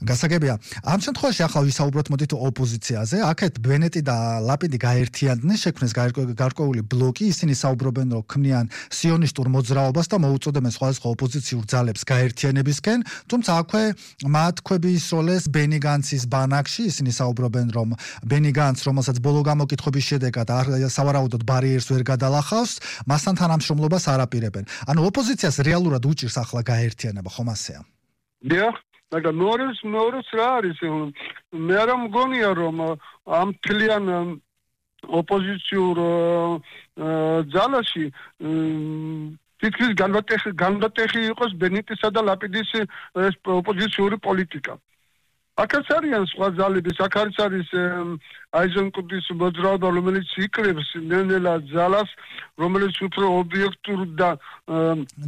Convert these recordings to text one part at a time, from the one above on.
გასაგებია. ამ შემთხვევაში ახლა ვისაუბროთ მოდით ოპოზიციაზე. აქეთ ბენეტი და ლაპიდი გაერთიანდნენ, შექმნეს გარკვეული ბლოკი, ისინი საუბრობენ, რომ ქმნიან სიონისტურ მოძრაობას და მოუწოდებენ სხვადასხვა ოპოზიციურ ძალებს გაერთიანებისკენ, თუმცა აქვე მათ ქვები ისროლეს ბენი განცის ბანაკში, ისინი საუბრობენ, რომ ბენი განც, რომელსაც ბოლო გამოკითხების შედეგად სავარაუდოდ ბარიერს ვერ გადალახავს, მასთან თანამშრომლობას არ აპირებენ. ანუ ოპოზიციას რეალურად უჭირს ახლა გაერთიანება, ხომ ასეა? დიახ, მაგრამ მეორეს რა არის? მე არ მგონია, რომ ამ თლიან ოპოზიციურ ძალაში თითქმის განვატეხი იყოს ბენეტისა და ლაპიდის ოპოზიციური პოლიტიკა. აქაც არიან სხვა ძალები, აქ არის აიზენკოტის მოძრაობა, რომელიც იკრებს ნელ-ნელა ძალას, რომელიც უფრო ობიექტურ და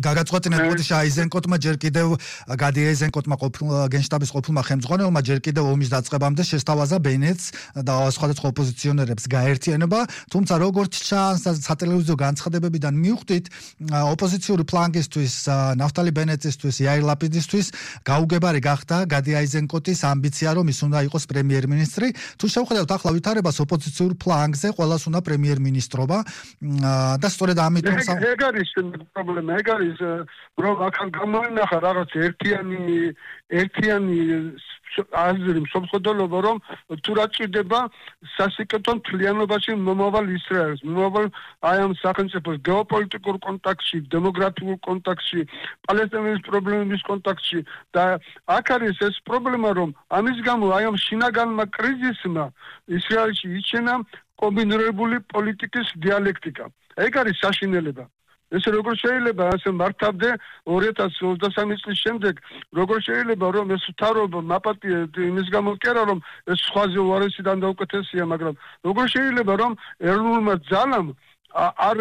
გაგაწყვეტინეთ, მოდი აიზენკოტმა ჯერ კიდევ გადი აიზენკოტმა გენშტაბის ყოფილმა ხელმძღვანელმა ჯერ კიდევ ომის დაწყებამდე შესთავაზა ბენეტს და სხვადასხვა ოპოზიციონერებს გაერთიანება, თუმცა როგორც ჩანს სატელევიზიო განცხადებებიდან მივხვდით, ოპოზიციური ფლანგისთვის, ნაფტალი ბენეტისთვის, იაირ ლაპიდისთვის გაუგებარი გახდა გადი აიზენკოტის ამბიცია, რომ ის უნდა იყოს პრემიერ-მინისტრი. თუ შევხედავთ ახლა ვითარებას ოპოზიციურ ფლანგზე, ყველას უნდა პრემიერ-მინისტრობა და სწორედ ამიტომ ეგ არის პრობლემა, ეგ არის რომ ახლა გამოინახა რაღაც ერთიანი აზრი მსოფლმხედველობა, რომ თუ რა ჭირდება სასიკეთო მთლიანობაში მომავალ ისრაელს, მომავალ აი ამ სახელმწიფოს გეოპოლიტიკურ კონტექსტში, დემოგრაფიულ კონტექსტში, პალესტინის პრობლემების კონტექსტში და აქ არის ეს პრობლემა, რომ ამის გამო აი ამ შინაგანმა კრიზისმა ისრაელში იჩენა კომბინირებული პოლიტიკის დიალექტიკა. ეგ არის საშინელება. ეს როგორ შეიძლება ასე მართავდე 2023 წლის შემდეგ, როგორ შეიძლება რომ ეს თავრობა მაპატიე იმის გამო კი არა რომ ეს სხვაზე უარესიდან და უკეთესია, მაგრამ როგორ შეიძლება რომ ეროვნულმა ძალამ არ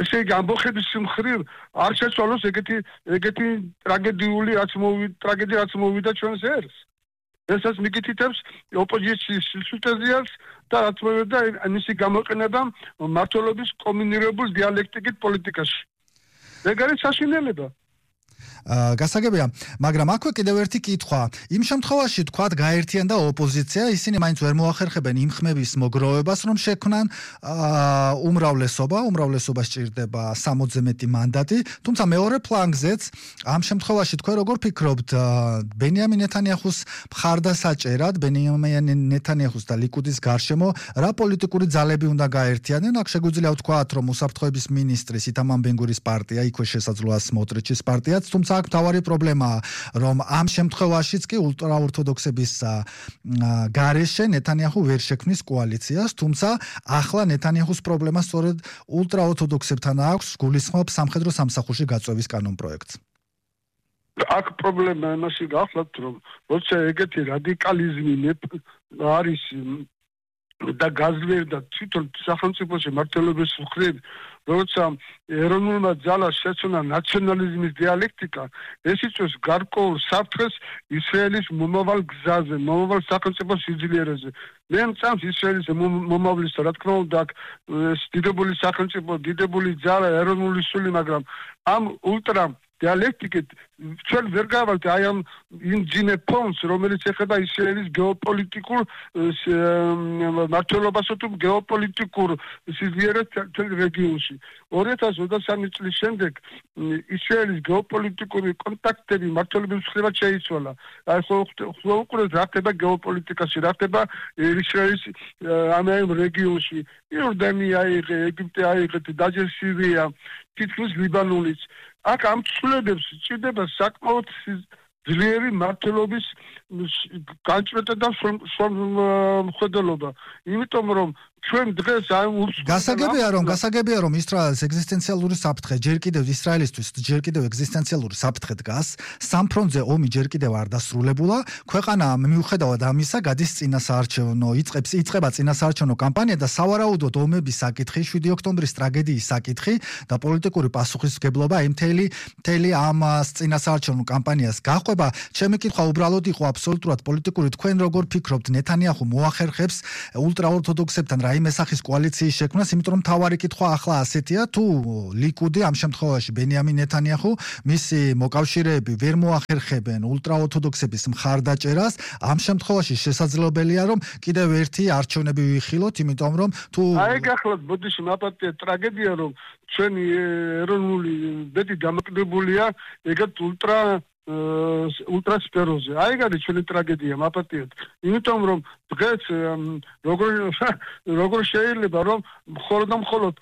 ესე იგი ამბოხების მხრივ არ შეცვალოს ეგეთი ტრაგედია რაც მოვიდა ჩვენს ერს. ესაც მიგითითებს ოპოზიციის სისულტეზიას და რაც მოვიდა მისი გამოყენება მმართველობის კომბინირებულ დიალექტიკით პოლიტიკაში. ეგ არის საშინელება. გასაგებია, მაგრამ აქვე კიდევ ერთი კითხვა. იმ შემთხვევაში თქვათ გაერთიანდა ოპოზიცია, ისინი მაინც ვერ მოახერხებენ იმ ხმების მოგროვებას, რომ შექმნან უმრავლესობა სჭირდება 60-ზე მეტი მანდატი, თუმცა მეორე ფლანგზეც ამ შემთხვევაში თქვენ როგორ ფიქრობთ, ბენიამინ ნეთანიაჰუს მხარდასაჭერად, ბენიამინ ნეთანიაჰუს და ლიკუდის გარშემო რა პოლიტიკური ძალები უნდა გაერთიანდნენ? აქ შეგვიძლია ვთქვათ, რომ უსაფრთხოების მინისტრის ითამარ ბენ-გურის პარტია, იქვე შესაძლოა სმოტრიჩის პარტიაც, თუმცა აქ მთავარი პრობლემაა, რომ ამ შემთხვევაშიც კი ულტრაორთოდოქსების გარეშე ნეთანიაჰუ ვერ შექმნის კოალიციას, თუმცა ახლა ნეთანიაჰუს პრობლემა სწორედ ულტრაორთოდოქსებთან აქვს, გულისხმობს სამხედრო სამსახურში გაწვევის კანონპროექტს. აქ პრობლემა იმაში გახლავთ, რომ როცა ეგეთი რადიკალიზმი არის და გაძლიერდა თვითონ სახელმწიფოში მმართველობის მხრივ, როცა ეროვნულმა ძალას შეცვალა ნაციონალიზმის დიალექტიკა, ეს იწვევს გარკვეულ საფრთხეს ისრაელის მომავალ გზაზე, მომავალ სახელმწიფოს სიძლიერეზე. მე მწამს ისრაელის მომავლის, რა თქმა უნდა, დიდებული სახელმწიფო, დიდებული ძალა, ეროვნული სული, მაგრამ ამ ულტრა დიალექტიკით ჩვენ ვერ გავალთ აი ამ ინჯინე ფონს, რომელიც ეხება ისრაელის გეოპოლიტიკურ მმართველობასა თუ გეოპოლიტიკურ სიძლიერეს თელ რეგიონში. 2023 წლის შემდეგ ისრაელის გეოპოლიტიკური კონტაქტები მმართველობის მხრივ შეიცვალა. აი ხო უყურეთ რა ხდება გეოპოლიტიკაში, რა ხდება ისრაელის ამ რეგიონში. იორდანია აიღე, ეგვიპტე აიღე, დაჯერ სირია, თითქმის ლიბანონიც. აქ ამ ცვლილებებს ჭირდება საკმაოდ ძლიერი მმართველობის განჭრედა და მხედველობა. იმიტომ რომ ჩვენ დღეს გასაგებია რომ ისრაელის ეგზისტენციალური საფრთხე ჯერ კიდევ ეგზისტენციალური საფრთხე დგას, სამ ფრონტზე ომი ჯერ კიდევ არ დასრულებულა, ქვეყანა მიუხედავად ამისა გადის იწყება წინასაარჩევნო კამპანია და სავარაუდოდ ომების საკითხი, 7 ოქტომბრის ტრაგედიის საკითხი და პოლიტიკური პასუხისმგებლობა მთელი ამ წინასაარჩევნო კამპანიას გაჰყვება. ჩემი კითხვა უბრალოდ იყო აბსოლუტურად პოლიტიკური. თქვენ როგორ ფიქრობთ, ნეთანიაჰუ მოახერხებს ულტრაორთოდოქსებთან რა აი მესახის კოალიციის შექმნას, იმიტომ რომ თავარი კითხვა ახლა ასეთია, თუ ლიკუდი ამ შემთხვევაში ბენიამინ ნეთანიაჰუ მისი მოკავშირეები ვერ მოახერხებენ ულტრაორთოდოქსების მხარდაჭერას, ამ შემთხვევაში შესაძლებელია რომ კიდევ ერთი არჩევნები ვიხილოთ, იმიტომ რომ თუ აი გახლავთ ბოდიში მაპატია ტრაგედია რომ ჩვენი ეროვნული ბედი დამოკიდებულია ეგეთ ულტრასფეროზე. აი გადი ჩვენი ტრაგედია მაპატიეთ. იმიტომ რომ დღეს როგორ შეიძლება რომ მხოლოდ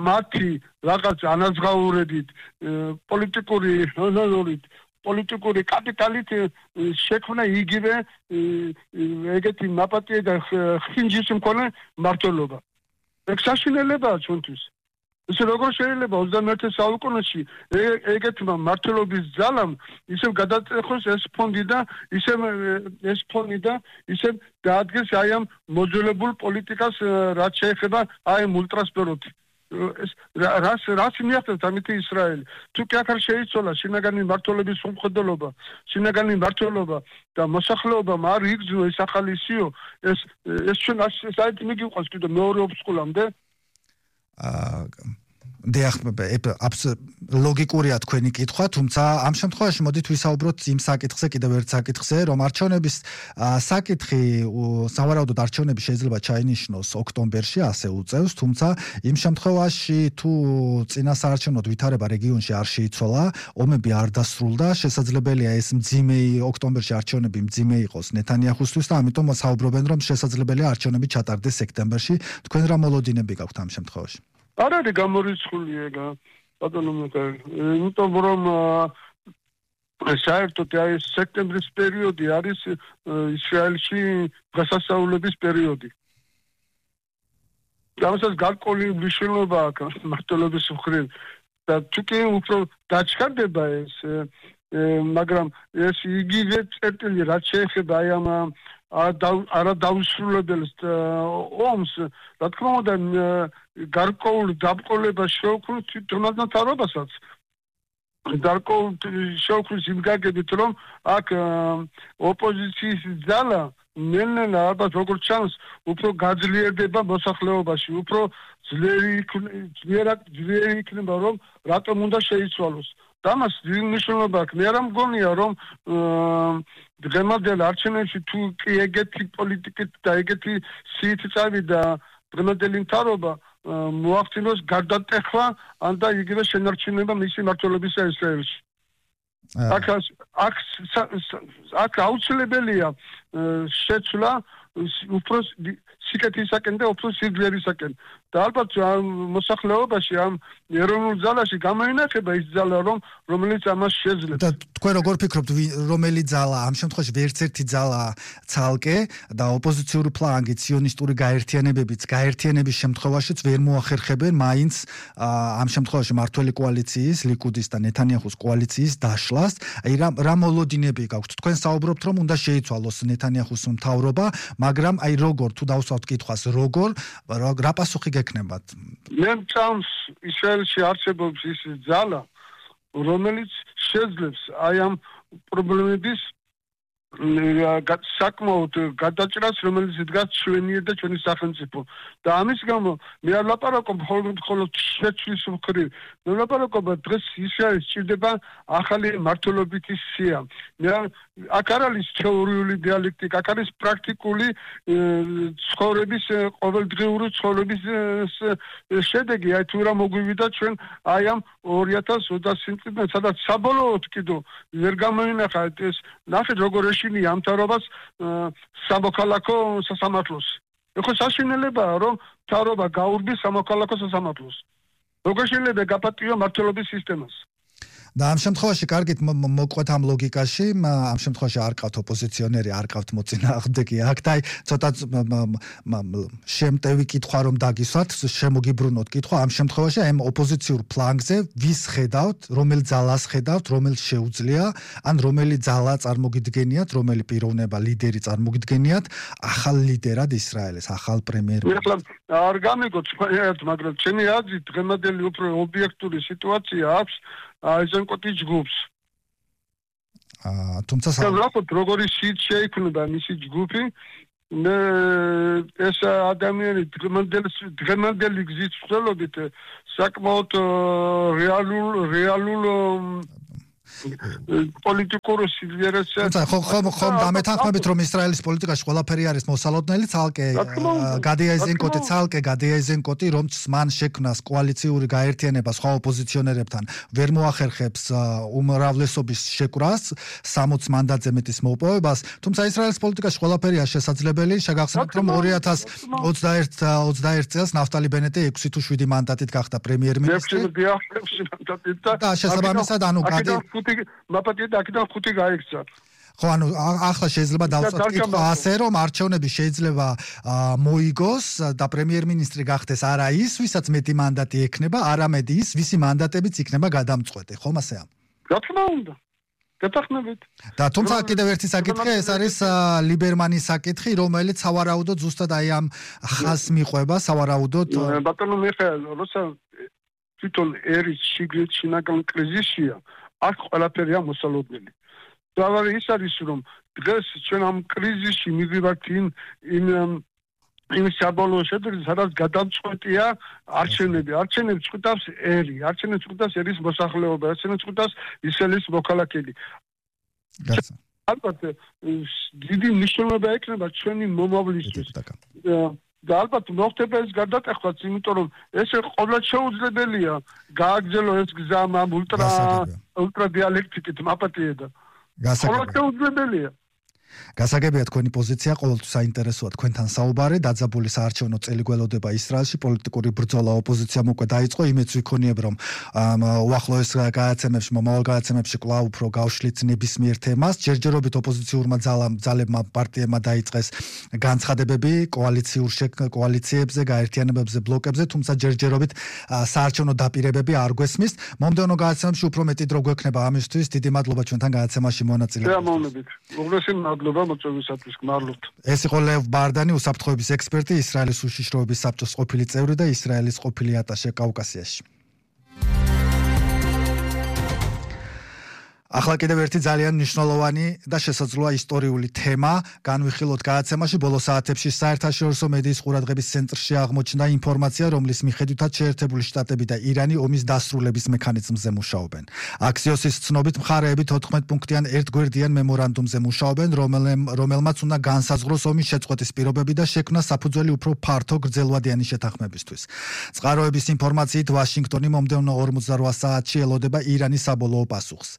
მათი რაღაც ანაზღაურებით პოლიტიკური კაპიტალით შექმნა იგივე ეგეთი მაპატია და ხინჯის მქონე მმართველობა. ეგ საშინელებაა ჩვენთვის. ისე როგორ შეიძლება 21 საუკუნეში ეგეთმა მმართველობის ძალამ ისევ გადაწყვეტოს ეს ფონდი და ისევ დაადგეს აი ამ მოძველებულ პოლიტიკას რაც შეეხება აი ამ ულტრასფეროთი. რას მიახდენს ამითი ისრაელი? თუ კი აქ არ შეიცვალა შინაგანი მმართველობის სამხედროობა, შინაგანი მმართველობა და მოსახლეობა არ იგრძნო ეს ახალი სიო, ეს ჩვენ საერთოდ მიგიყვანს კიდე მეორე ოფსკულამდე? ლოგიკურია თქვენი კითხვა, თუმცა ამ შემთხვევაში მოდით ვისაუბროთ იმ საკითხზე, კიდევ ერთ საკითხზე, რომ არჩევნების საკითხი, სავარაუდოდ არჩევნები შეიძლება ჩაინიშნოს ოქტომბერში, ასე უწევს, თუმცა იმ შემთხვევაში თუ წინასაარჩევნო ვითარება რეგიონში არ შეიცვალა, ომები არ დასრულდა, შესაძლებელია ეს ოქტომბერში არჩევნები მძიმე იყოს ნეთანიაჰუსთვის და ამიტომ საუბრობენ, რომ შესაძლებელია არჩევნები ჩატარდეს სექტემბერში. თქვენ რა მოლოდინები გაქვთ ამ შემთხვევაში? არ არის გამორიცხული ეგა ბატონო მიხაილ, იმიტომ რომ საერთოდ აი სექტემბრის პერიოდი არის ისრაელში გასასწაულების პერიოდი. ამასაც გარკვეული მნიშვნელობა აქვს მმართველობის მხრივ და თუ კი უფრო დაჩქარდება ეს, მაგრამ ეს იგივე წერტილი რაც შეეხება აი ამ არადაუსრულებელს ომს, რა თქმა უნდა გარკვეულ დაბრკოლებას შეუქმნის თვითონაც თავრობასაც. გარკვეულ შეუქმნის იმ გაგებით, რომ აქ ოპოზიციის ძალა ნელ-ნელა ალბათ როგორც ჩანს, უფრო გაძლიერდება მოსახლეობაში, უფრო ძლიერი იქნება, რომ რატომ უნდა შეიცვალოს. დამას მნიშვნელობა აქვს. მე არ მგონია რომ დღემდე არჩევნებში თუ კი ეგეთი პოლიტიკით და ეგეთი სიით წავიდა დღემდელი მთავრობა მოახდინოს გარდატეხვა ან და იგივე შენარჩუნება მისი მმართველობისა ისრაელში. აქ აუცილებელია შეცვლა უფრო სიკეთისაკენ და უფრო სიძლიერისაკენ. და ალბათ მოსახლეობაში ამ ეროვნულ ძალაში გამოინახება ის ძალა რომელიც ამას შეძლებს. და თქვენ როგორ ფიქრობთ რომელი ძალა ამ შემთხვევაში ვერც ერთი ძალა ცალკე და ოპოზიციური ფლანგი ციონისტური გაერთიანების შემთხვევაშიც ვერ მოახერხებენ მაინც ამ შემთხვევაში მართველი კოალიციის ლიკუდის და ნეთანიაჰუს კოალიციის დაშლას. აი რა მოლოდინები გაქვთ? თქვენ საუბრობთ რომ უნდა შეიცვალოს ნეთანიაჰუს მთავრობა, მაგრამ აი როგორ თუ დავსვათ კითხვას რა პასუხი გეკნებათ? მე მწამს ისრაელში არსებობს ის ძალა, რომელიც შეძლებს აი ამ პრობლემების საკმაოდ გადაჭრას, რომელიც დგას ჩვენიერ და ჩვენი სახელმწიფო. და ამის გამო მე არ ლაპარაკობ მხოლოდ შეცვლის მხრივ. მე ლაპარაკობ დღეს ისრაელს სჭირდება ახალი მმართველობითი სია. აქ არ არის თეორიული დიალექტიკა, აქ არის პრაქტიკული ცხოვრების, ყოველდღიური ცხოვრების შედეგი. აი თუ რა მოგვივიდა ჩვენ აი ამ 2020 წლიდან, სადაც საბოლოოდ კიდევ ვერ გამოინახა ეს ნახეთ როგორ ეშინია ამ მთავრობას სამოქალაქო სასამართლოს. ეხლა საშინელებაა რომ მთავრობა გაურბის სამოქალაქო სასამართლოს. როგორ შეიძლება გაპატიო მმართველობის სისტემას? და ამ შემთხვევაში კარგით მოყვეთ ამ ლოგიკაში, ამ შემთხვევაში არ ყავთ ოპოზიციონერი, არ ყავთ მოწინააღმდეგე აქ და აი ცოტა შემტევი კითხვა რომ დაგისვათ, შემოგიბრუნოთ კითხვა ამ შემთხვევაში აი ოპოზიციურ ფლანგზე ვის ხედავთ, რომელ ძალას ხედავთ, რომელიც შეუძლია, ან რომელი ძალა წარმოგიდგენიათ, რომელი პიროვნება, ლიდერი წარმოგიდგენიათ ახალ ლიდერად ისრაელის, ახალ პრემიერ-მინისტრად? არ გამიგოთ, მაგრამ ჩემი აზრით დღემდელი უფრო ობიექტური სიტუაცია აქვს აიზენკოტის ჯგუფს. თუმცა როგორი სიით შეიქმნება მისი ჯგუფი ეს ადამიანი დღემდელი გზით ვლობით საკმაოდ რეალურ პოლიტიკურ სიძლიერეზე ხომ დამეთანხმებით რომ ისრაელის პოლიტიკაში ყველაფერი არის მოსალოდნელი ცალკე გადია ეზენკოტი რომც მან შექმნას კოალიციური გაერთიანება სხვა ოპოზიციონერებთან ვერ მოახერხებს უმრავლესობის შეკვრას 60 მანდატზე მეტის მოპოვებას თუმცა ისრაელის პოლიტიკაში ყველაფერია შესაძლებელი შეგახსენებთ რომ 2021 წელს ნაფტალი ბენეტი 6 თუ 7 მანდატით გახდა პრემიერ-მინისტრი და შესაბამისად ანუ მაპატიეთ აქედან 5 გაიქცა. ხო, ანუ ახლა შეიძლება დავწერთ კითხვა ასე, რომ არჩევნები შეიძლება მოიგოს და პრემიერ-მინისტრი გახდეს არა ის, ვისაც მეტი მანდატი ექნება, არამედ ის, ვისი მანდატებიც იქნება გადამწყვეტი, ხომ ასეა? რა თქმა უნდა. გეთახმებით. და თუმცა კიდევ ერთი საკითხი, ეს არის ლიბერმანის საკითხი, რომელიც სავარაუდოდ ზუსტად აი ამ ხაზს მიყვება, სავარაუდოდ ბატონო მიხეილ, როცა თვითონ ერის შიგნით შინაგან კრიზისია აქ ყველაფერია მოსალოდნელი. დავარი ის არის რომ დღეს ჩვენ ამ კრიზისში მივივართ იმ საბოლოო შედეგს, სადაც გადამწყვეტია არჩევნები. არჩევნებს წყვიტავს ერი, არჩევნებს წყვიტავს ერის მოსახლეობა, არჩევნებს წყვიტავს ისრაელის მოქალაქეები. ალბათ დიდი მნიშვნელობა ექნება ჩვენი მომავლისთვის. და ალბათ მოხდება ეს გარდატეხვაც, იმიტომ რომ ეს ყოველდღე შეუძლებელია გააგრძელო ეს გზა ამ ულტრა დიალექტიკით მაპატიედა. ყოველდღე შეუძლებელია. გასაგებია თქვენი პოზიცია, ყოველთვის საინტერესოა თქვენთან საუბარი, დაძაბული საარჩევნო წელი გველოდება ისრაელში, პოლიტიკური ბრძოლა ოპოზიციამ უკვე დაიწყო, იმედს ვიქონიებ, რომ უახლოეს გადაცემებში, მომავალ გადაცემებში კვლავ უფრო გავშლით ნებისმიერ თემას, ჯერჯერობით ოპოზიციურმა ძალებმა პარტიებმა დაიწყეს განცხადებები კოალიციებზე, გაერთიანებებზე, ბლოკებზე, თუმცა ჯერჯერობით საარჩევნო დაპირებები არ გვესმის. მომდევნო გადაცემებში უფრო მეტი დრო გვექნება ამისთვის. დიდი მადლობა ჩვენთან გადაცემაში მონაწილეობისთვის. ეს იყო ლევ ბარდანი, უსაფრთხოების ექსპერტი, ისრაელის უშიშროების საბჭოს ყოფილი წევრი და ისრაელის ყოფილი ატაშე კავკასიაში. ახლა კიდევ ერთი ძალიან მნიშვნელოვანი და შესაძლოა ისტორიული თემა განვიხილოთ გადაცემაში. ბოლო საათებში საერთაშორისო მედიის ყურადღების ცენტრში აღმოჩნდა ინფორმაცია, რომლის მიხედვითაც შეერთებული შტატები და ირანი ომის დასრულების მექანიზმზე მუშაობენ. აქსიოსის ცნობით მხარეები 14 პუნქტიან ერთგვერდიან მემორანდუმზე მუშაობენ, რომელმაც უნდა განსაზღვროს ომის შეწყვეტის პირობები და შექმნას საფუძველი უფრო ფართო გრძელვადიანი შეთანხმებისთვის. წყაროების ინფორმაციით ვაშინგტონი მომდევნო 48 საათში ელოდება ირანის საბოლოო პასუხს.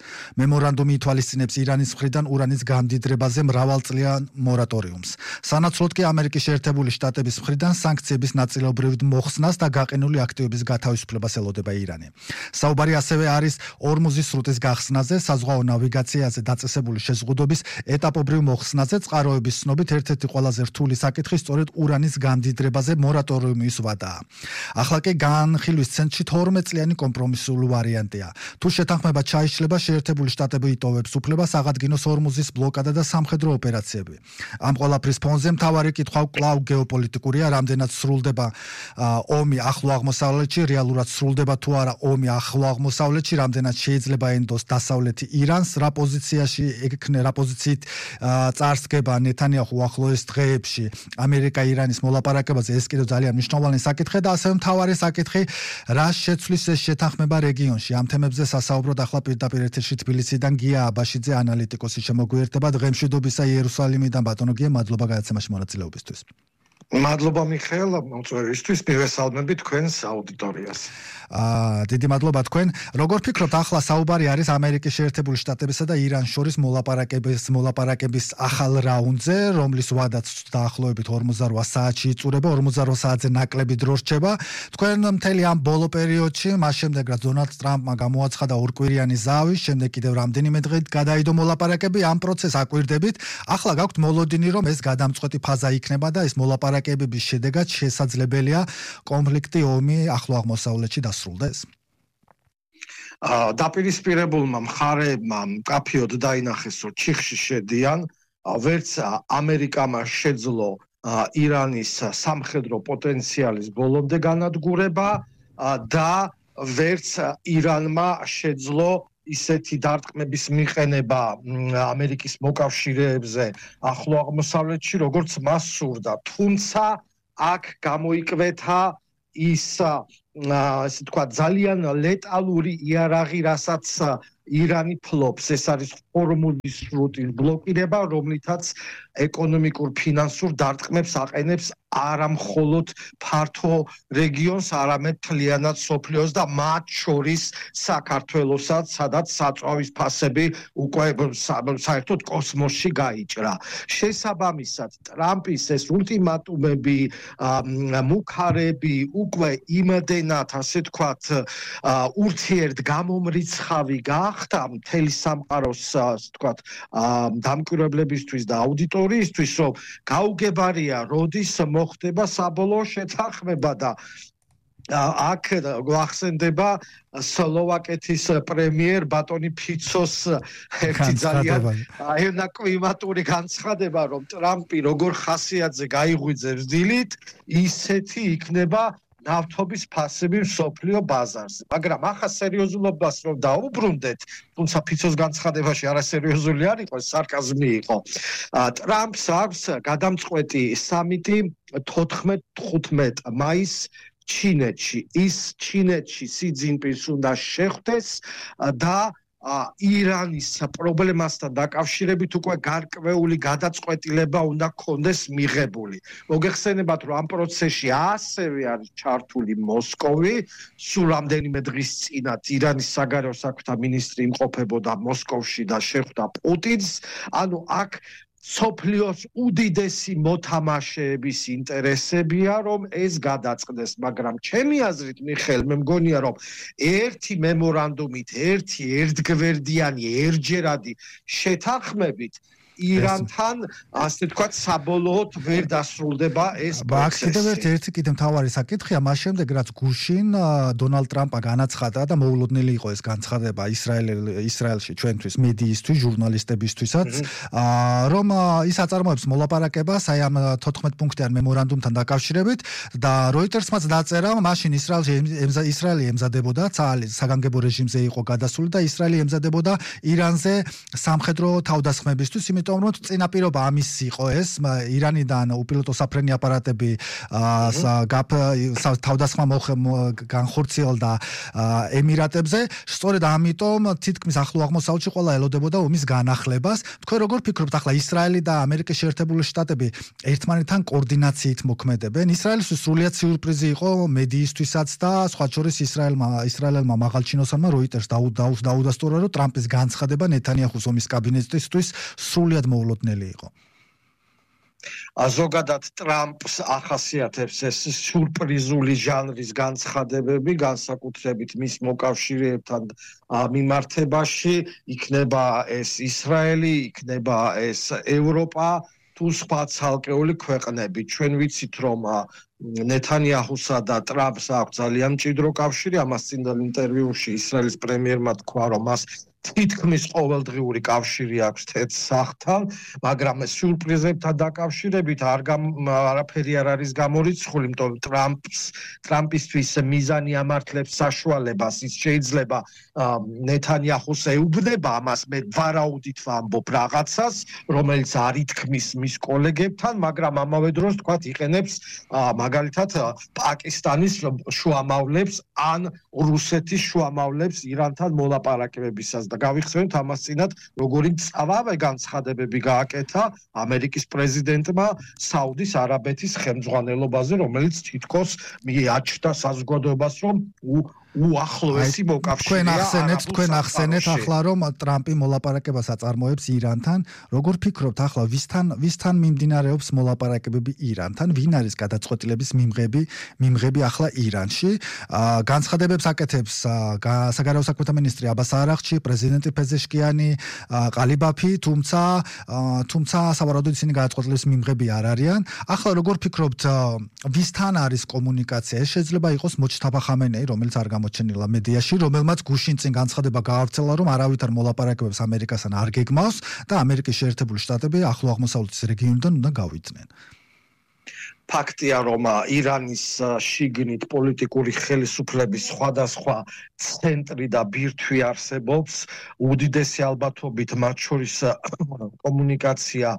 მემორანდუმი ითვალისწინებს ირანის მხრიდან ურანის გამდიდრებაზე მრავალწლიან მორატორიუმს. სანაცვლოდ კი ამერიკის შეერთებული შტატების მხრიდან სანქციების ნაწილობრივ მოხსნას და გაყინული აქტივების გათავისუფლებას ელოდება ირანი. საუბარი ასევე არის ორმუზის სრუტის გახსნაზე, საზღვაო ნავიგაციაზე დაწესებული შეზღუდვების ეტაპობრივ მოხსნაზე. წყაროების ცნობით ერთ-ერთი ყველაზე რთული საკითხი სწორედ ურანის გამდიდრებაზე მორატორიუმის ვადაა. ახლა კი განხილვის ცენტრში 12 წლიანი კომპრომისული ვარიანტია. თუ შეთანხმება ჩაიშლება, შეერთებული შტატები იტოვებს უფლებას აღადგინოს ორმუზის ბლოკადა და სამხედრო ოპერაციები. ამ ყველაფრის ფონზე მთავარი კითხვა კვლავ გეოპოლიტიკურია, რამდენად სრულდება ომი ახლო აღმოსავლეთში, რეალურად სრულდება თუ არა ომი ახლო აღმოსავლეთში, რამდენად შეიძლება ენდოს დასავლეთი ირანს, რა პოზიციით წარსდგება ნეთანიაჰუ ახლოეს დღეებში ამერიკა-ირანის მოლაპარაკებაზე, ეს კიდევ ძალიან მნიშვნელოვანი საკითხია და ასევე მთავარი საკითხი, რა შეცვლის ეს შეთანხმება რეგიონში. ამ თემებზე სასაუბროდ ახლა პირდაპირ ეთერში თბილისიდან გია აბაშიძე, ანალიტიკოსი შემოგვიერთება. დღემშვიდობისა იერუსალიმიდან, ბატონო გია, მადლობა გადაცემაში მონაწილეობისთვის. მადლობა მიხეილ მოწვევისთვის, მივესალმები თქვენს აუდიტორიას. დიდი მადლობა თქვენ. როგორ ფიქრობთ, ახლა საუბარი არის ამერიკის შეერთებული შტატებისა და ირანის შორის მოლაპარაკების ახალ რაუნდზე, რომლის ვადაც დაახლოებით 48 საათში იწურება, 48 საათზე ნაკლები დრო რჩება. თქვენ მთელი ამ ბოლო პერიოდში, მას შემდეგ რაც დონალდ ტრამპმა გამოაცხადა ორკვირიანი ზავის, შემდეგ კიდევ რამდენიმე დღით გადაიდო მოლაპარაკები, ამ პროცესს აკვირდებით. ახლა გაქვთ მოლოდინი, რომ ეს გადამწყვეტი ფაზა იქნება და ეს მოლაპარაკებების შედეგად შესაძლებელია კონფლიქტი, ომი ახლო აღმოსავლეთში დასრულდეს. დაპირისპირებულმა მხარეებმა მკაფიოდ დაინახეს, რომ ჩიხში შედიან, ვერც ამერიკამ შეძლო ირანის სამხედრო პოტენციალის ბოლომდე განადგურება და ვერც ირანმა შეძლო ისეთი დარტყმების მიყენება ამერიკის მოკავშირეებზე ახლო აღმოსავლეთში, როგორც მას სურდა. თუმცა აქ გამოიკვეთა ის ასე თქვა ძალიან ლეტალური იარაღი, რასაც ირანი ფლობს, ეს არის ჰორმუზის სრუტის ბლოკირება, რომლითაც ეკონომიკურ ფინანსურ დარტყმებს აყენებს არა მხოლოდ ფართო რეგიონს, არამედ მთლიანად სოფლიოს და მათ შორის საქართველოსაც, სადაც საწვავის ფასები უკვე საერთოდ კოსმოსში გაიჭრა. შესაბამისად, ტრამპის ეს ულტიმატუმები, მუქარები უკვე იმდენად, ასე თქვათ, ურთიერთგამომრიცხავი გახდა მთელი სამყაროს, ასე თქვათ, დამკვირვებლებისთვის და აუდიტორიისთვის, რომ გაუგებარია, როდის მოხდება საბოლოო შეთანხმება და აქ გვახსენდება სლოვაკეთის პრემიერ ბატონი ფიცოს ერთი ძალიან კლიმატური განცხადება, რომ ტრამპი როგორ ხასიათზე გაიღვიძებს დილით, ისეთი იქნება ნავთობის ფასები მსოფლიო ბაზარზე. მაგრამ ახლა სერიოზულობას რომ დაუბრუნდეთ, თუმცა ფიცოს განცხადებაში არასერიოზული არ იყო, სარკაზმი იყო. ტრამპს აქვს გადამწყვეტი სამიტი 14-15 მაისს ჩინეთში. ის ჩინეთში სი ძინპინს უნდა შეხვდეს და ირანის პრობლემასთან დაკავშირებით უკვე გარკვეული გადაწყვეტილება უნდა ქონდეს მიღებული. მოგეხსენებათ, რომ ამ პროცესში ასევე არის ჩართული მოსკოვი, სულ რამდენიმე დღის წინათ ირანის საგარეო საქმეთა მინისტრი იმყოფებოდა მოსკოვში და შეხვდა პუტინს. ანუ აქ სოფლიოს უდიდესი მოთამაშეების ინტერესებია, რომ ეს გადაწყდეს, მაგრამ ჩემი აზრით, მიხეილ, მე მგონია, რომ ერთი მემორანდუმით, ერთი ერთგვერდიანი, ერთჯერადი შეთანხმებით ირანთან, ასე თქვათ, საბოლოოდ ვერ დასრულდება ეს პროცესი. ერთი მთავარი საკითხია, მას შემდეგ რაც გუშინ დონალდ ტრამპმა განაცხადა და მოულოდნელი იყო ეს განცხადება ისრაელში ჩვენთვის, მედიისთვის, ჟურნალისტებისთვისაც, რომ ის აწარმოებს მოლაპარაკებას აი ამ 14 პუნქტიან მემორანდუმთან დაკავშირებით და როიტერსმაც დაწერა, მაშინ ისრაელი ემზადებოდა, საგანგებო რეჟიმზე იყო გადასული და ისრაელი ემზადებოდა ირანზე სამხედრო თავდასხმებისთვის, იმიტომ რომ წინაპირობა ამის იყო ეს, ირანიდან უპილოტო საფრენი აპარატები თავდასხმა განხორციელდა ემირატებზე, სწორედ ამიტომ თითქმის ახლო აღმოსავლეთში ყველა ელოდებოდა ომის განახლებას. თქვენ როგორ ფიქრობთ, ახლა ისრაელი და ამერიკის შეერთებული შტატები ერთმანეთთან კოორდინაციით მოქმედებენ? ისრაელისთვის სრულიად სიურპრიზი იყო მედიისთვისაც და სხვა შორის ისრაელელმა მაღალჩინოსანმა როიტერს დაუდასტურა, რომ ტრამპის განცხადება ნეთანიაჰუს ომის კაბინეტისთვის სრულიად მოულოდნელი იყო. ზოგადად ტრამპს ახასიათებს ეს სიურპრიზული ჟანრის განცხადებები, განსაკუთრებით მის მოკავშირეებთან მიმართებაში, იქნება ეს ისრაელი, იქნება ეს ევროპა, თუ სხვა ცალკეული ქვეყნები. ჩვენ ვიცით, რომ ნეთანიაჰუსა და ტრამპს აქვს ძალიან მჭიდრო კავშირი, ამას წინდელ ინტერვიუში ისრაელის პრემიერმა თქვა, რომ მას თითქმის ყოველდღიური კავშირი აქვს თეთრ სახლთან, მაგრამ სიურპრიზებთან დაკავშირებით არაფერი არ არის გამორიცხული, იმიტომ ტრამპისთვის მიზანი ამართლებს საშუალებას, ის შეიძლება ნეთანიაჰუს ეუბნება ამას, მე ვარაუდით ვამბობ რაღაცას, რომელიც არ ითქმის მის კოლეგებთან, მაგრამ ამავე დროს თქვა იყენებს მაგალითად პაკისტანის შუამავლებს ან რუსეთის შუამავლებს ირანთან მოლაპარაკებებისას და გავიხსენოთ ამას წინათ, როგორი წავავე განცხადებები გააკეთა ამერიკის პრეზიდენტმა საუდის არაბეთის ხელმძღვანელობაზე, რომელიც თითქოს მიაჩნდა საზოგადოებას, რომ უახლოესი მოკავშირეა. თქვენ ახსენეთ ახლა, რომ ტრამპი მოლაპარაკებას აწარმოებს ირანთან. როგორ ფიქრობთ ახლა, ვისთან მიმდინარეობს მოლაპარაკებები ირანთან? ვინ არის გადაწყვეტილების მიმღები ახლა ირანში? განცხადებებს აკეთებს საგარეო საქმეთა მინისტრი აბას არაღჩი, პრეზიდენტი პეზეშკიანი, ყალიბაფი, თუმცა სავარაუდოდ ისინი გადაწყვეტილების მიმღები არ არიან. ახლა როგორ ფიქრობთ, ვისთან არის კომუნიკაცია? ეს შეიძლება იყოს მოჩთაბა ხამენეი, რომელიც არ გამოჩენილა მედიაში, რომელმაც გუშინ წინ განცხადება გაავრცელა, რომ არავითარ მოლაპარაკებებს ამერიკასთან არ გეგმავს და ამერიკის შეერთებული შტატები ახლო აღმოსავლეთის რეგიონიდან უნდა გავიდნენ. ფაქტია, რომ ირანის შიგნით პოლიტიკური ხელისუფლების სხვადასხვა ცენტრი და ბირთვი არსებობს. უდიდესი ალბათობით მათ შორის კომუნიკაცია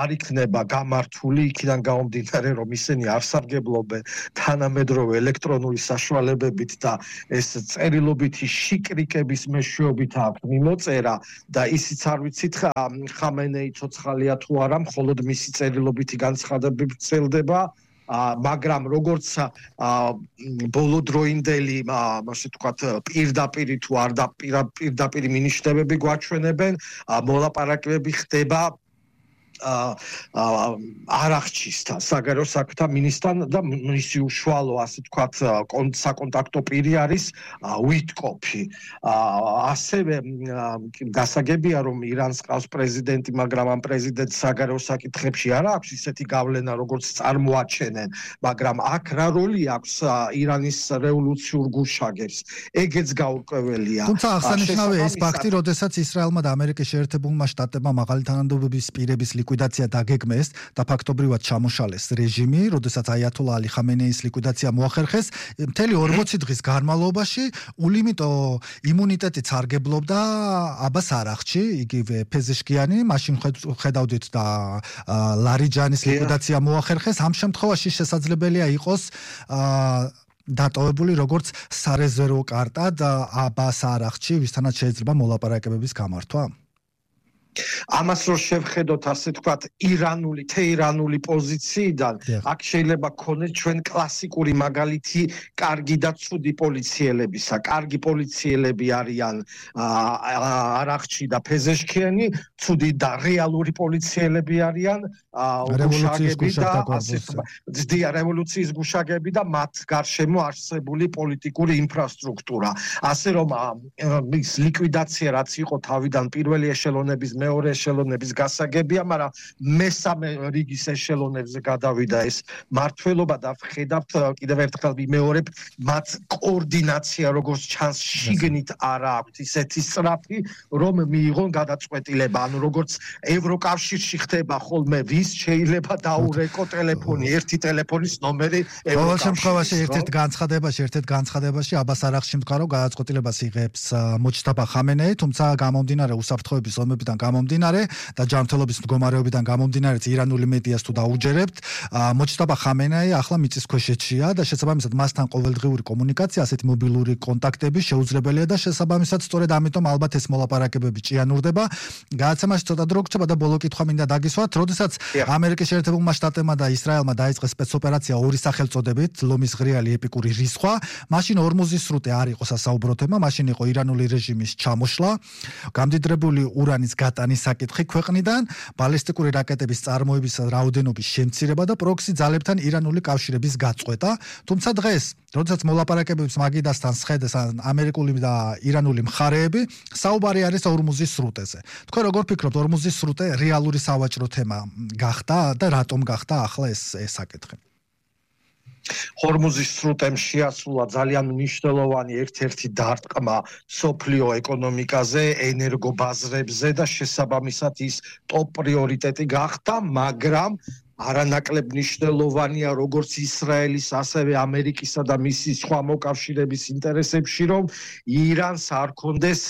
არ იქნება გამართული, იქიდან გამომდინარე, რომ ისინი არ სარგებლობენ თანამედროვე ელექტრონული საშუალებებით და ეს წერილობითი შიკრიკების მეშვეობით აქვს მიმოწერა და ისიც არ ვიცით ხამენეი ცოცხალია თუ არა, მხოლოდ მისი წერილობითი განცხადებები ვრცელდება. მაგრამ როგორც ბოლოდროინდელი, ასე ვთქვათ, პირდაპირი თუ არ და პირდაპირი მინიშნებები გვაჩვენებენ, მოლაპარაკებები ხდება არახჩისთან, საგარეო საქმეთა მინისტრთან და მისი უშუალო, ასე ვთქვათ, საკონტაქტო პირი არის უიტკოფი. ასევე გასაგებია, რომ ირანს ყავს პრეზიდენტი, მაგრამ ამ პრეზიდენტს საგარეო საკითხებში არ აქვს ისეთი გავლენა, როგორც წარმოაჩენენ, მაგრამ აქ რა როლი აქვს ირანის რევოლუციურ გუშაგებს? ეგეც გაურკვეველია. თუმცა აღსანიშნავია ის ფაქტი, როდესაც ისრაელმა და ამერიკის შეერთებულმა შტატებმა მაღალი თანამდებობის პირების ლიკვიდაცია დაგეგმეს და ფაქტობრივად ჩამოშალეს რეჟიმი, როდესაც აიათოლა ალი ხამენეის ლიკვიდაცია მოახერხეს, მთელი 40 დღის განმავლობაში ულიიმიტო იმუნიტეტით სარგებლობდა აბას არახჩი, იგივე ფეზეშკიანი, მაშინ ხედავდით და ლარიჯანის ლიკვიდაცია მოახერხეს. ამ შემთხვევაში შესაძლებელია იყოს დატოვებული როგორც სარეზერვო კარტა და აბას არახჩი, ვისთანაც შეიძლება მოლაპარაკებების გამართვა. ამას რო შევხედოთ, ასე ვთქვათ, თეირანული პოზიციიდან, აქ შეიძლება გქონდეს ჩვენ კლასიკური მაგალითი კარგი და ცუდი პოლიციელებისა. კარგი პოლიციელები არიან არახჩი და ფეზეშკიანი, ცუდი და რეალური პოლიციელები არიან რევოლუციის გუშაგები და მათ გარშემო არსებული პოლიტიკური ინფრასტრუქტურა. ასე რომ ის ლიკვიდაცია რაც იყო თავიდან პირველი ეშელონების მეორე ეშელონების გასაგებია, მაგრამ მესამე რიგის ეშელონებზე გადავიდა ეს მართლობა და ვხედავთ კიდევ ერთხელ ვიმეორებ, მათ კოორდინაცია როგორც ჩანს შიგნით არ აქვს ისეთი სწრაფი, რომ მიიღონ გადაწყვეტილება, ანუ როგორც ევროკავშირში ხდება ხოლმე ვის შეიძლება დაურეკო ტელეფონი, ერთი ტელეფონის ნომერი ყოველ შემთხვევაში ერთ-ერთ განცხადებაში აბას არახჩი მდგარო გადაწყვეტილებას იღებს მოჯტაბა ხამენეი, თუმცა გამომდინარე უსაფრთხოების ომებიდან გამომდინარე და ჯანმრთელობის მდგომარეობიდან გამომდინარე ირანული მედიას თუ დაუჯერებთ, მოჯტაბა ხამენეი ახლა მიწისქვეშეთშია და შესაბამისად მასთან ყოველდღიური კომუნიკაცია, ასეთი მობილური კონტაქტები შეუძლებელია და შესაბამისად სწორედ ამიტომ ალბათ ეს მოლაპარაკებები ჭიანურდება. გადაცემაში ცოტა დრო გრჩება და ბოლო კითხვა მინდა დაგისვათ, როდესაც ამერიკის შეერთებულმა შტატებმა და ისრაელმა დაიწყეს სპეცოპერაცია ორი სახელწოდებით, ლომის ღრიალი ეპიკური რისხვა, მაშინ ორმუზის სრუტე არ იყო სასაუბრო თემა, მაშინ იყო ირანული რეჟიმის ჩამოშლა, გამდიდრებული ურანის გატანის საკითხი ქვეყნიდან, ბალისტიკური რაკეტების წარმოების რაოდენობის შემცირება და პროქსი ძალებთან ირანული კავშირების გაწყვეტა. თუმცა დღეს, როდესაც მოლაპარაკებებს მაგიდასთან სხედეს ამერიკული და ირანული მხარეები, საუბარი არის ორმუზის სრუტეზე. თქვენ როგორ ფიქრობთ, ორმუზის სრუტე რეალური სავაჭრო თემა გახდა და რატომ გახდა ახლა ეს საკითხი? ჰორმუზის სრუტემ შეასრულა ძალიან მნიშვნელოვანი ერთ-ერთი დარტყმა სოფლიო ეკონომიკაზე, ენერგობაზრებზე და შესაბამისად ის ტოპ პრიორიტეტი გახდა, მაგრამ არანაკლებ მნიშვნელოვანია როგორც ისრაელის, ასევე ამერიკისა და მისი სხვა მოკავშირეების ინტერესებში, რომ ირანს არ კონდეს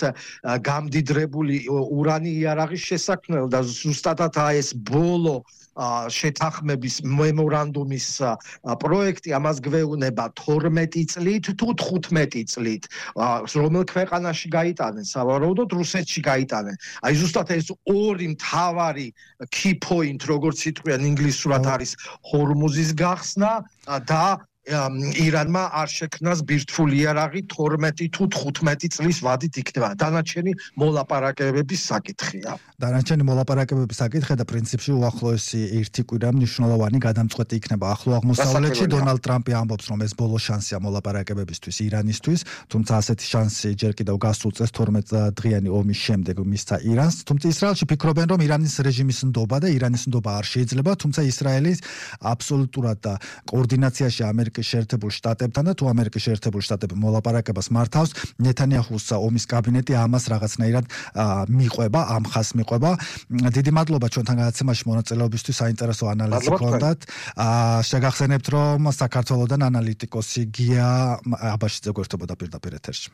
გამდიდრებული ურანი იარაღის შესაქმნელ და ზუსტად ეს ბოლო შეთანხმების მემორანდუმის პროექტი ამას გვეუბნება 12 წლით თუ 15 წლით, რომელ ქვეყანაში გაიტანენ, სავარაუდოდ რუსეთში გაიტანენ. აი ზუსტად ეს ორი მთავარი key point, როგორც იტყვიან ინგლისურად, არის ჰორმუზის გახსნა და ირანმა არ შექმნას ბირთვული იარაღი 12 თუ 15 წლის ვადით იქნება. დანარჩენი მოლაპარაკებების საკითხია. დანარჩენი მოლაპარაკებების საკითხია და პრინციპში უახლოესი ერთი კვირა მნიშვნელოვანი გადამწყვეტი იქნება ახლო აღმოსავლეთში. დონალდ ტრამპი ამბობს, რომ ეს ბოლო შანსია მოლაპარაკებებისთვის ირანისთვის, თუმცა ასეთი შანსი ჯერ კიდევ გასულ წელს 12 დღიანი ომის შემდეგ მისცა ირანს. თუმცა ისრაელში ფიქრობენ, რომ ირანის რეჟიმის ნდობა და ირანის ნდობა არ შეიძლება, თუმცა ისრაელის აბსოლუტურად და კოორდინაციაში ამერიკის ამერიკის შეერთებულ შტატებთან და თუ ამერიკის შეერთებულ შტატები მოლაპარაკებას მართავს, ნეთანიაჰუს ომის კაბინეტი ამას რაღაცნაირად მიყვება, ამ ხაზს მიყვება. დიდი მადლობა ჩვენთან გადაცემაში მონაწილეობისთვის, საინტერესო ანალიზი გქონდათ. შეგახსენებთ, რომ საქართველოსდან ანალიტიკოსი გია აბაშიძე გვერდებოდა პირდაპირ ეთერში.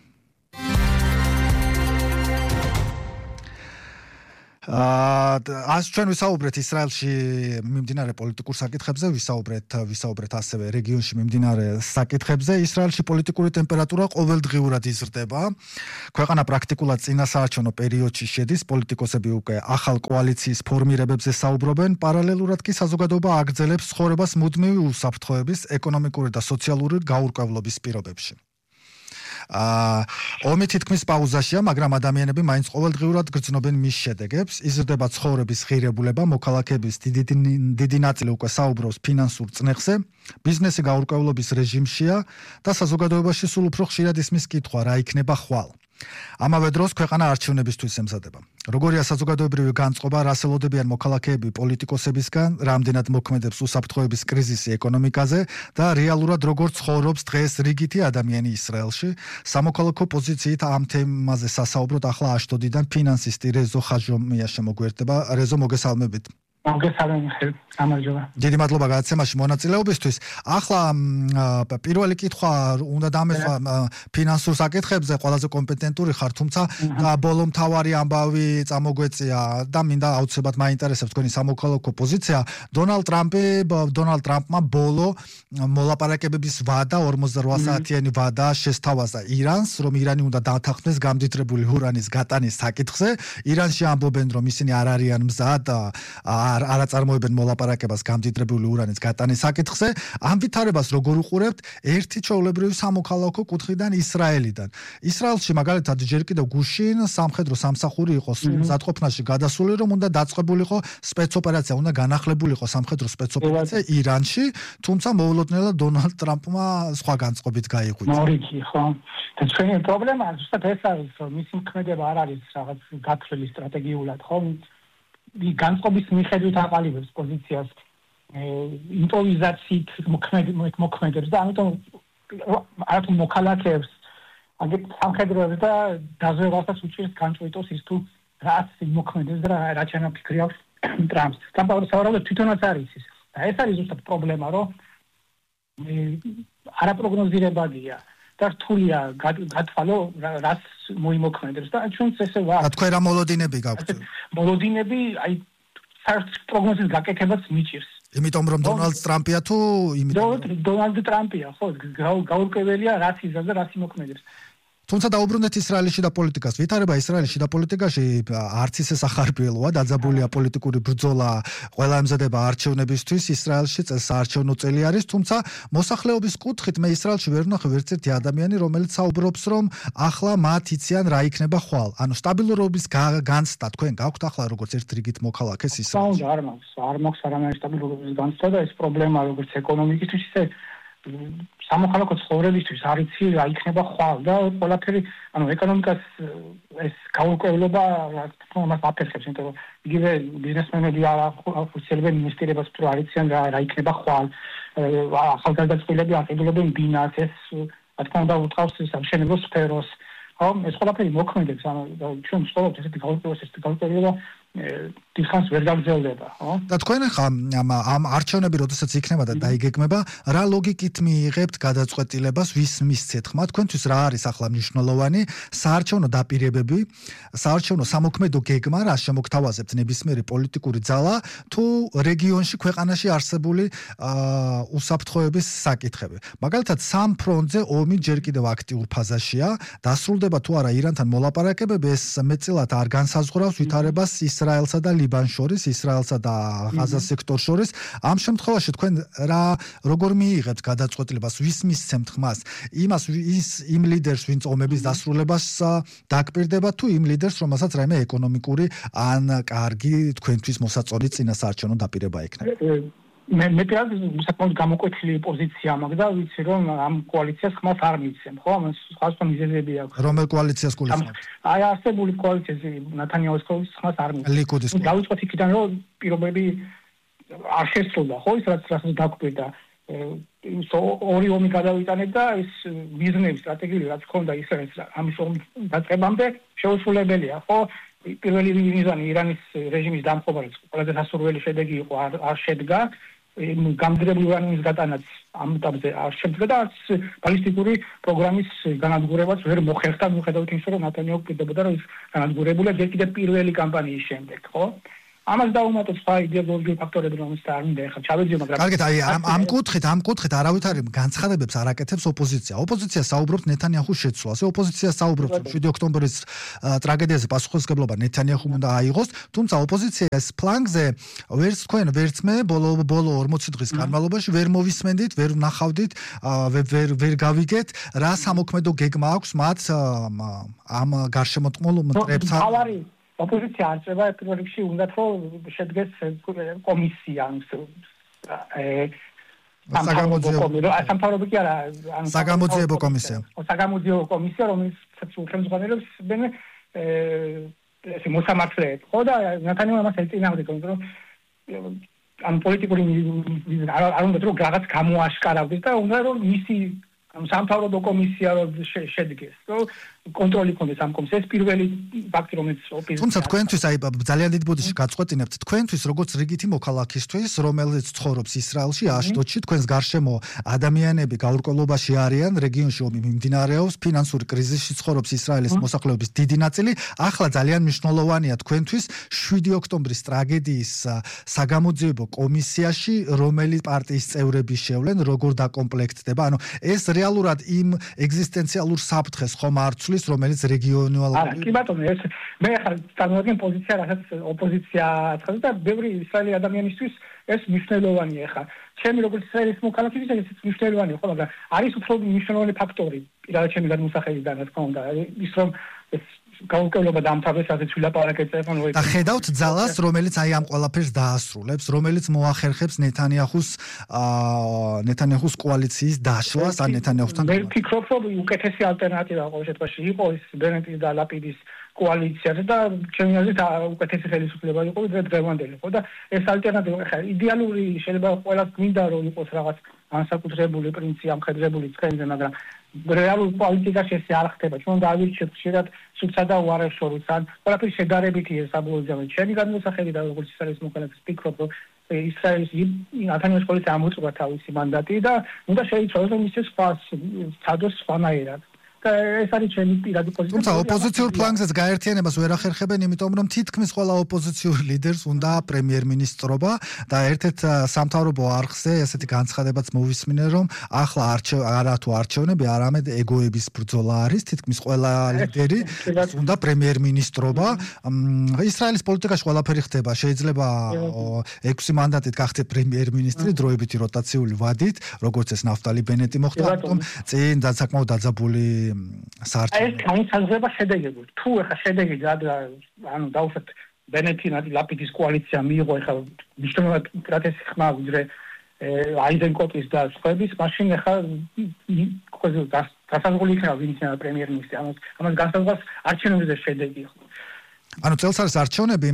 ჩვენ ვისაუბრეთ ისრაელში მიმდინარე პოლიტიკურ საკითხებზე, ვისაუბრეთ ასევე რეგიონში მიმდინარე საკითხებზე. ისრაელში პოლიტიკური ტემპერატურა ყოველდღიურად იზრდება. ქვეყანა პრაქტიკულად წინასაარჩევნო პერიოდში შედის, პოლიტიკოსები უკვე ახალ კოალიციის ფორმირებებზე საუბრობენ, პარალელურად კი საზოგადოება აგრძელებს ცხოვრებას მუდმივი უსაფრთხოების, ეკონომიკური და სოციალური გაურკვევლობის პირობებში. ომი თითქმის პაუზაშია, მაგრამ ადამიანები მაინც ყოველდღიურად გრძნობენ მის შედეგებს. იზრდება ცხოვრების ღირებულება, მოქალაქეების დიდი ნაწილი უკვე საუბრობს ფინანსურ წნეხზე, ბიზნესი გაურკვევლობის რეჟიმშია და საზოგადოებაში სულ უფრო ხშირად ისმის კითხვა, რა იქნება ხვალ. ამავე დროს ქვეყანა არჩევნებისთვის ემზადება. როგორია საზოგადოებრივი განწყობა, რას ელოდებიან მოქალაქეები პოლიტიკოსებისგან, რამდენად მოქმედებს უსაფრთხოების კრიზისი ეკონომიკაზე და რეალურად როგორ ცხოვრობს დღეს რიგითი ადამიანი ისრაელში. სამოქალაქო პოზიციით ამ თემაზე სასაუბროდ ახლა აშდოდიდან ფინანსისტი რეზო ხაჟომია შემოგვერდება. რეზო, მოგესალმებით. დიდი მადლობა გადაცემაში მონაწილეობისთვის. ახლა პირველი კითხვა უნდა დამესვა ფინანსურ საკითხებზე, ყველაზე კომპეტენტური ხარ, თუმცა ბოლო მთავარი ამბავი წამოგვეწია და მინდა აუცილებლად მაინტერესებს თქვენი სამოქალაქო პოზიცია. დონალდ ტრამპმა ბოლო მოლაპარაკებების ვადა 48 საათიანი ვადა შესთავაზა ირანს, რომ ირანი უნდა დათანხმდეს გამდიდრებული ურანის გატანის საკითხზე. ირანში ამბობენ, რომ ისინი არ არიან მზად არ აწარმოებენ მოლაპარაკებას გამდიდრებული ურანის გატანის საკითხზე. ამ ვითარებას როგორ უყურებთ ერთი ჩვეულებრივი სამოქალაქო კუთხიდან ისრაელიდან? ისრაელში მაგალითად ჯერ კიდევ გუშინ სამხედრო სამსახური იყო მზადყოფნაში გადასული, რომ უნდა დაწყებულიყო სპეცოპერაცია, უნდა განახლებულიყო სამხედრო სპეცოპერაცია ირანში, თუმცა მოულოდნელად დონალდ ტრამპმა სხვა განწყობით გაიღვიძა. მორიგი, ხო. და ჩვენი პრობლემა ზუსტად ეს არის, რომ მისი მოქმედება არ არის რაღაც გათვლილი სტრატეგიულად, ხო? განწყობის მიხედვით აყალიბებს პოზიციას იმპროვიზაციით მოქმედებს და ამიტომ არათუ მოქალაქეებს აგეთ სამხედროებს და დაზვერვასაც უჭირს განწყვიტოს ის თუ რაც მოქმედებს და რა ჩანაფიქრი აქვს ტრამპს. სავარაუდოდ თვითონაც არის ის. და ეს არის ზუსტად პრობლემა, რომ არაპროგნოზირებადია და რთულია გათვალო რაც მოიმოქმედებს და ჩვენც ესე ვარ. თქვენ რა მოლოდინები გაქვთ? მოლოდინები, აი საერთოდ პროგნოზის გაკეთებაც მიჭირს. იმიტომ რომ დონალდ ტრამპია თუ დონალდ ტრამპია, ხო, გაურკვეველია რაც იზრდება და რაც იმოქმედებს. თუმცა დაუბრუნდეთ ისრაელის შიდა პოლიტიკას. ვითარება ისრაელის შიდა პოლიტიკაში არც ისე სახარბიელოა, დაძაბულია პოლიტიკური ბრძოლა, ყველა ემზადება არჩევნებისთვის. ისრაელში საარჩევნო წელი არის, თუმცა მოსახლეობის კუთხით მე ისრაელში ვერ ვნახე ვერცერთი ადამიანი, რომელიც საუბრობს, რომ ახლა მათ იციან რა იქნება ხვალ. ანუ სტაბილურობის განცდა თქვენ გაქვთ ახლა როგორც ერთ რიგით მოქალაქეს ისრაელში? არ მაქვს არანაირი სტაბილურობის განცდა და ეს პრობლემა როგორც ეკონომიკისთვის, ისე სამოქალაქო ცხოვრებისთვის არ იცი რა იქნება ხვალ და ყველაფერი, ანუ ეკონომიკას ეს გაურკვევლობა მას აფერხებს, იმიტომ რომ იგივე ბიზნესმენები ახორციელებენ ინვესტირებას, თუ არ იციან რა იქნება ხვალ, ახალგაზრდები აყიდულობენ ბინას, ეს რა თქმა უნდა უთავს სამშენებლო სფეროს, ხო, ეს ყველაფერი მოქმედებს, ანუ ჩვენ ვსწავლობთ ესეთი გაურკვევლობა დიდხანს ვერ გაგრძელდება, ხო? და თქვენ ხა ამ არჩევნები როდესაც იქნება და დაიგეგმება, რა ლოგიკით მიიღებთ გადაწყვეტილებას, ვის მისცეთ ხმა? თქვენთვის რა არის ახლა მნიშვნელოვანი საარჩევნო დაპირებები, საარჩევნო სამოქმედო გეგმა, რა შემოგთავაზებთ ნებისმიერი პოლიტიკური ძალა, თუ რეგიონში ქვეყანაში არსებული უსაფრთხოების საკითხები? მაგალითად, სამ ფრონტზე ომი ჯერ კიდევ აქტიურ ფაზაშია, დასრულდება თუ არა ირანთან მოლაპარაკებები, ეს მეტწილად არ განსაზღვრავს ვითარებას ისრაელსა და ლიბანს შორის, ისრაელსა და ღაზას სექტორს შორის. ამ შემთხვევაში თქვენ როგორ მიიღებთ გადაწყვეტილებას, ვის მისცემთ ხმას? იმ ლიდერს, ვინც ომების დასრულებას დაკპირდება, თუ იმ ლიდერს, რომელსაც რაიმე ეკონომიკური ან კარგი თქვენთვის მოსაწონი წინასაარჩევნო დაპირება ექნება? მე საკმაოდ გამოკვეთილი პოზიცია მაქვს და ვიცი რომ ამ კოალიციას ხმას არ მიცემ, ხო? ამას სხვა მიზეზები აქვს. რომელ კოალიციას გულისხმობთ? აი არსებული კოალიციას ნათანიაჰუს კოალიციას ხმას არ მიცემ. ლიკუდის. დავიწყოთ იქიდან რომ პირობები არ შესრულდა, ხო, ის რაც დაგვკვირდა. ორი ომი გადავიტანეთ და ეს მიზნები სტრატეგიული რაც ქონდა ისრაელს ამის ომის დაწყებამდე შეუსრულებელია, ხო? პირველი მიზანი ირანის რეჟიმის დამხობა, რაც ყველაზე სასურველი შედეგი იყო, არ შედგა. გამდიდრებული ურანიუმის გატანაც ამ ეტაპზე არ შედგა და ბალისტიკური პროგრამის განადგურებაც ვერ მოხერხდა, მიუხედავად იმისა, რომ ნატანიაჰუ პირდებოდა, რომ ის განადგურებულა კიდე პირველი კამპანიის შემდეგ, ხო? ამას დაუმატოთ სხვა იდეოლოგიური ფაქტორები, რომელიც არ მინდა ახლა ჩავეძიო, მაგრამ კარგით, აი ამ კუთხით არავითარი განცხადებებს არ აკეთებს ოპოზიცია. ოპოზიცია საუბრობს ნეთანიაჰუს შეცვლაზე, ოპოზიცია საუბრობს, რომ 7 ოქტომბრის ტრაგედიაზე პასუხისმგებლობა ნეთანიაჰუმ უნდა აიღოს, თუმცა ოპოზიციის ფლანგზე ვერც თქვენ, ვერც მე ბოლო 40 დღის განმავლობაში ვერ მოვისმენდით, ვერ ვნახავდით, ვერ გავიგეთ, რა სამოქმედო გეგმა აქვს მათ ამ გარშემოწყმულ მტრებთან. ოპოზიცია არ წება პირველ რიგში უნდათ რომ შედგეს კომისია სამთავრობო კი არა საგამოძიებო კომისია საგამოძიებო კომისია რომელიც ხელმძღვანელობს ეს მოსამართლეებს ხო და ნათანიაჰუ ამას ეწინააღმდეგა იმიტომ რომ ამ პოლიტიკური არ უნდა რომ რაღაც გამოაშკარავდეს და უნდა რომ მისი სამთავრობო კომისია შედგეს, რომ კონტროლი ქონდეს ამ კომისიას. ეს პირველი ფაქტი, რომელიც ოპოზიცია. თუმცა თქვენთვის აი ძალიან დიდ ბოდიში გაწყვეტინებთ, თქვენთვის როგორც რიგითი მოქალაქისთვის, რომელიც ცხოვრობს ისრაელში, აშდოდში, თქვენს გარშემო ადამიანები გაურკვევლობაში არიან, რეგიონში ომი მიმდინარეობს, ფინანსური კრიზისში ცხოვრობს ისრაელის მოსახლეობის დიდი ნაწილი. ახლა ძალიან მნიშვნელოვანია თქვენთვის 7 ოქტომბრის ტრაგედიის საგამოძიებო კომისიაში, რომელი პარტიის წევრები შევლენ, როგორ დაკომპლექტდება. ანუ ეს რეალურად იმ ეგზისტენციალურ საფრთხეს ხომ არ ცვლის, რომელიც რეგიონალური კი ბატონო, ეს მე ახლა წარმოადგენ პოზიცია, რასაც ოპოზიცია აცხადებს და ბევრი ისრაელი ადამიანისთვის ეს მნიშვნელოვანია ახლა. ჩემი როგორც ისრაელის მოქალაქისთვის ეს მნიშვნელოვანია, ხო, მაგრამ არის უფრო მნიშვნელოვანი ფაქტორი, პირადად ჩემი გადმოსახედიდან, რა თქმა უნდა, ის რომ ეს გაურკვევლობა დამთავრდეს, ასეც ვილაპარაკეთ ეხლა. და ხედავთ ძალას, რომელიც აი ამ ყველაფერს დაასრულებს, რომელიც მოახერხებს ნეთანიაჰუს კოალიციის დაშლას, ან ნეთანიაჰუსთან. მე ვფიქრობ, რომ უკეთესი ალტერნატივა ყოველ შემთხვევაში იყო ის ბენეტის და ლაპიდის კოალიცია და ჩემი აზრით უკეთესი ხელისუფლება იყო ვიდრე დღევანდელი, ხო და ეს ალტერნატივა ხა იდეალური შეიძლება ყველას გვინდა რომ იყოს რაღაც განსაკუთრებული პრინციპი ამხედრებული ცხენზე, მაგრამ რეალურ პოლიტიკაში ეს არ ხდება. ჩვენ დავირჩიოთ ხშირად სულსა და უარეს შორის, ან ყველაფერი შედარებითია საბოლოო. ჩემი გადმოსახედი და როგორც ისრაელის მოქალაქე ვფიქრობ, რომ ისრაელის ნათანიაჰუს კოალიცია ამოწურა თავისი მანდატი და უნდა შეიცვალოს რომ ისე სხვა სადოს სხვანაირად. და ეს არის ჩემი პირადი პოზიცია. თუმცა ოპოზიციურ ფლანგზეც გაერთიანებას ვერ ახერხებენ, იმიტომ რომ თითქმის ყველა ოპოზიციურ ლიდერს უნდა პრემიერ-მინისტრობა და ერთ-ერთ სამთავრობო არხზე ესეთი განცხადებაც მოვისმინე, რომ ახლა არა თუ არჩევნები, არამედ ეგოების ბრძოლა არის, თითქმის ყველა ლიდერი უნდა პრემიერ-მინისტრობა. ისრაელის პოლიტიკაში ყველაფერი ხდება, შეიძლება 6 მანდატით გახდე პრემიერ-მინისტრი დროებითი როტაციული ვადით, როგორც ეს ნაფტალი ბენეტი მოხდა, ამიტომ წინ საკმაოდ დაძაბული ეს განსაზღვრება შედეგები. თუ ეხა შედეგი ანუ დავუშვათ ბენეტი ლაპიდის კოალიცია მიიღო ეხა მნიშვნელოვნად პროტესტი ხმა ვიდრე აიზენკოტის და სხვების, მაშინ ეხა გასაზღვრული იქნება ვინ იქნება პრემიერ-მინისტრი. ამას განსაზღვრავს არჩევნებზე შედეგი. ანუ წელს არის არჩევნები,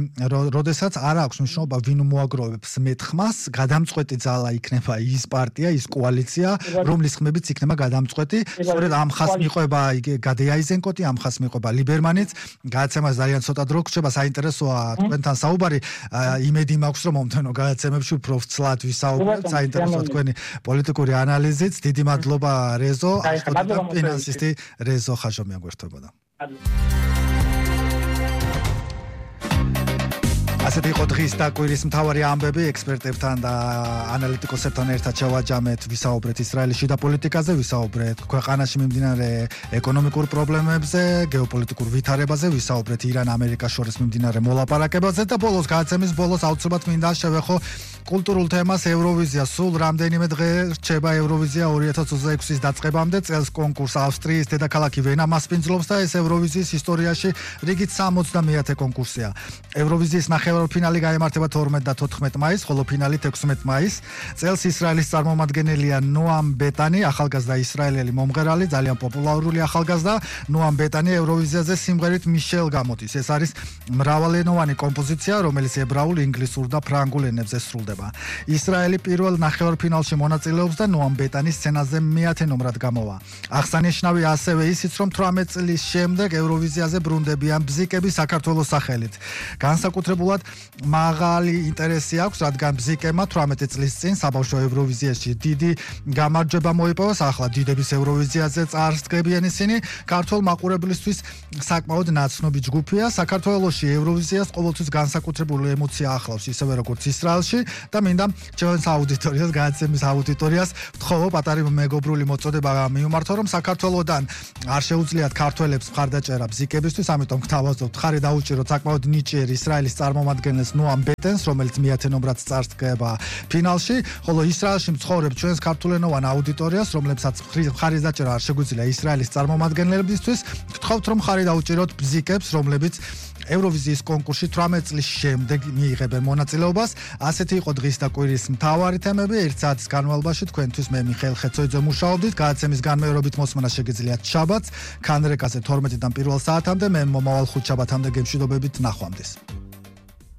როდესაც არ აქვს მნიშვნელობა ვინ მოაგროვებს მეტ-ხმას, გადამწყვეტი ძალა იქნება ის პარტია, ის კოალიცია, რომლის ხმებიც იქნება გადამწყვეტი. სწორედ ამ ხაზს მიყვება გადე აიზენკოტი, ამ ხაზს მიყვება ლიბერმანიც. გადაცემას ძალიან ცოტა დრო გრჩება, საინტერესოა თქვენთან საუბარი. იმედი მაქვს, რომ მომდევნო გადაცემებში უფრო ვცლად ვისაუბრებთ, საინტერესოა თქვენი პოლიტიკური ანალიზიც. დიდი მადლობა რეზო, ფინანსისტი რეზო ხაჟომია გვერდებოდა. ასეთი იყო დღის დაკვირის მთავარი ამბები, ექსპერტებთან და ანალიტიკოსებთან ერთად შევაჯამეთ, ვისაუბრეთ ისრაელის შიდა პოლიტიკაზე, ვისაუბრეთ ქვეყანაში მიმდინარე ეკონომიკურ პრობლემებზე, გეოპოლიტიკურ ვითარებაზე, ვისაუბრეთ ირან-ამერიკას შორის მიმდინარე მოლაპარაკებაზე და ბოლოს გადაცემის ბოლოს აუცილებლად მინდა შევეხო კულტურულ თემას ევროვიზია. სულ რამდენიმე დღე რჩება ევროვიზია 2026-ის დაწყებამდე. წელს კონკურს ავსტრიის დედაქალაქი ვენა მასპინძლობს და ეს ევროვიზიის ისტორიაში რიგით 70-მე კონკურსია. ევროვიზიის ნახევარფინალი გაიმართება 12 და 14 მაისს, ხოლო ფინალი 16 მაისს. წელს ისრაელის წარმომადგენელია ნოამ ბეტანი, ახალგაზრდა ისრაელელი მომღერალი, ძალიან პოპულარული ახალგაზრდა. ნოამ ბეტანი ევროვიზიაზე სიმღერით მიშელ გამოდის. ეს არის მრავალენოვანი კომპოზიცია, რომელიც ებრაულ, ინგლისურ და ფრანგულ ენებზე სრულდება. ემუქრება. ისრაელი პირველ ნახევარფინალში მონაწილეობს და ნოამ ბეტანის სცენაზე მე-10 ნომრად გამოვა. აღსანიშნავი ასევე ისიც, რომ 18 წლის შემდეგ ევროვიზიაზე ბრუნდებიან ბზიკები საქართველოს სახელით. განსაკუთრებულად მაღალი ინტერესი აქვს, რადგან ბზიკებმა 18 წლის წინ საბავშვო ევროვიზიაში დიდი გამარჯვება მოიპოვეს. ახლა დიდების ევროვიზიაზე წარსდგებიან ისინი. ქართულ მაყურებლისთვის საკმაოდ ნაცნობი ჯგუფია. საქართველოში ევროვიზიას ყოველთვის განსაკუთრებული ემოცია ახლავს, ისევე როგორც ისრაელში და მინდა ჩვენს აუდიტორიას, გადაცემის აუდიტორიას ვთხოვო პატარი მეგობრული მოწოდება მიუმართო, რომ საქართველოდან არ შეუძლიათ ქართველებს მხარდაჭერა ბზიკებისთვის, ამიტომ გთავაზობთ ხარი დაუჭიროთ საკმაოდ ნიჭიერ ისრაელის წარმომადგენელს ნოამ ბეტენს, რომელიც მე-10 ნომრად წარსდგება ფინალში, ხოლო ისრაელში მცხოვრებ ჩვენს ქართულენოვან აუდიტორიას, რომლებსაც ხარის დაჭერა არ შეგვიძლია ისრაელის წარმომადგენლებისთვის, გთხოვთ რომ ხარი დაუჭიროთ ბზიკებს, რომლებიც ევროვიზიის კონკურსში 18 წლის შემდეგ მიიღებენ მონაწილეობას. ასეთი იყო დღის და კვირის მთავარი თემები. 1 საათის განმავლობაში თქვენთვის მე მიხეილ ხეცოიძე მუშაობდით. გადაცემის განმეორებით მოსმენა შეგიძლიათ შაბათს, ქანრეკაზე 12-დან 1 საათამდე, მე მომავალ 5 შაბათამდე გემშვიდობებით ნახვამდის.